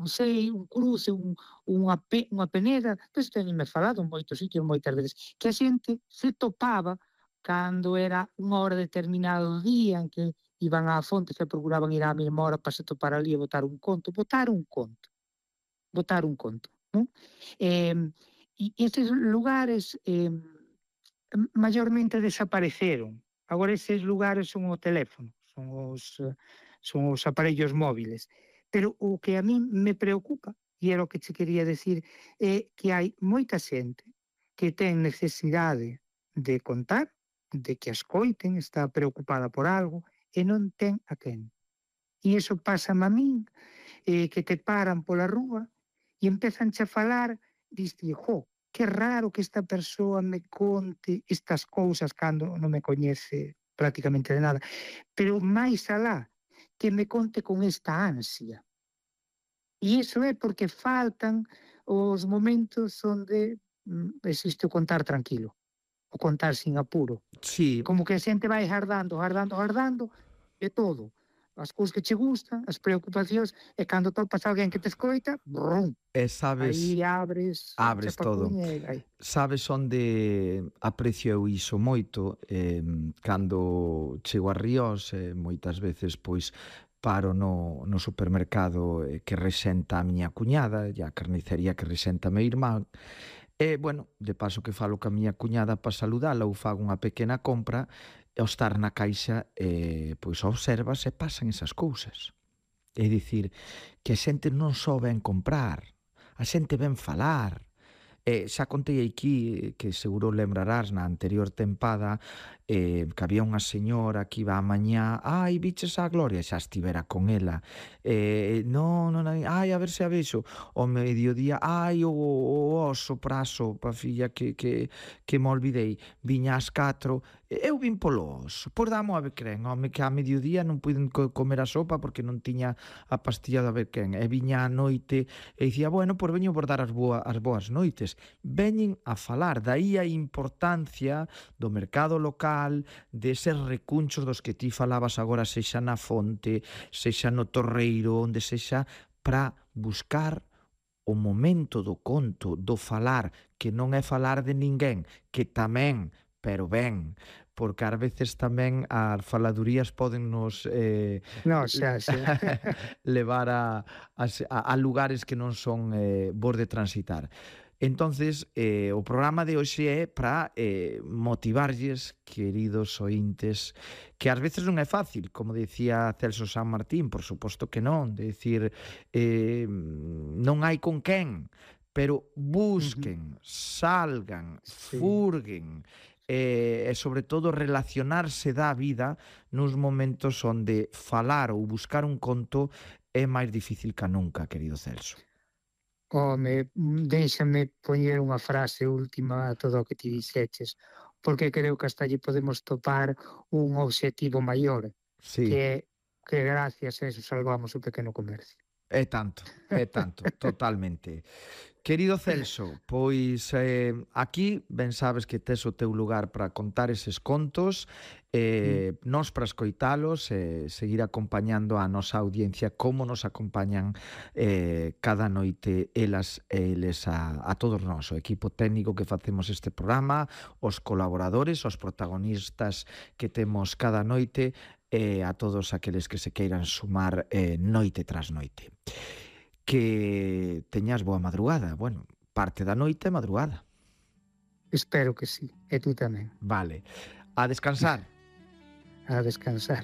sei, un cruce, unha peneda, pois teñenme falado en moitos sitios moitas veces, que a xente se topaba cando era unha hora determinada do día en que iban á fonte, se procuraban ir á mesma hora para se topar ali e botar un conto, non? E estes lugares maiormente desapareceron. Agora eses lugares son o teléfono, son os aparellos móviles. Pero o que a min me preocupa, e era o que che quería decir, é que hai moita xente que ten necesidade de contar, de que a escoiten, está preocupada por algo, e non ten a quen. E iso pasa a min, que te paran pola rúa e empezan a falar, diste, jo, que raro que esta persoa me conte estas cousas cando non me coñece prácticamente de nada. Pero máis alá, que me conte con esta ansia. E iso é porque faltan os momentos onde existe o contar tranquilo, o contar sin apuro. Sí, Como que a xente vai gardando e todo. As cousas que che gustan, as preocupacións, e cando topas alguén que te escoita, brum, e sabes, aí abres o abres todo. chapacuña e vai. Sabes onde aprecio eu iso moito? Cando chego a Ríos, moitas veces, pois, paro no supermercado que rexenta a miña cuñada e a carnicería que rexenta meu irmán. E, bueno, de paso que falo ca miña cuñada para saludala ou fago unha pequena compra, e ao estar na caixa, pois observas e pasan esas cousas. É dicir, que a xente non só ven comprar, a xente ven falar. Xa contei aquí, que seguro lembrarás na anterior tempada, que había unha señora que iba a mañá, ai, biches a Gloria, xa estivera con ela, non, ai, a ver se a vexo, ao mediodía, ai, o oso praso, pa filla que me olvidei, viña ás 4, eu vin polo oso, por damo a ver quen, home, que a mediodía non puiden comer a sopa porque non tiña a pastilla de a ver quen, e viña a noite e dicía, bueno, por veño por dar as boas noites. Veñen a falar, dai a importancia do mercado local, deses recunchos dos que ti falabas agora, sexa na fonte, sexa no torreiro, onde sexa, para buscar o momento do conto, do falar, que non é falar de ninguén, que tamén, pero ben, porque ás veces tamén as faladurías podennos No, xa. levar a lugares que non son bons de transitar. Entonces, o programa de hoxe é para motivarlles, queridos ointes, que ás veces non é fácil, como decía Celso San Martín, por suposto que non, de decir, non hai con quen, pero busquen, salgan, Sí. furguen, e sobre todo relacionarse da vida nos momentos onde falar ou buscar un conto é máis difícil ca nunca, querido Celso. Home, déixame poñer unha frase última a todo o que ti dixeches, porque creo que hasta allí podemos topar un obxectivo maior, Sí. que gracias a eso salvamos o pequeno comercio. É tanto, totalmente. Querido Celso, pois aquí ben sabes que tes o teu lugar para contar eses contos, nós para escoitalos e seguir acompañando a nosa audiencia como nos acompañan cada noite elas e eles a todos nós, o equipo técnico que facemos este programa, os colaboradores, os protagonistas que temos cada noite e a todos aqueles que se queiran sumar noite tras noite. Que teñas boa madrugada. Bueno, parte da noite é madrugada. Espero que sí, e tú tamén. Vale. A descansar. A descansar.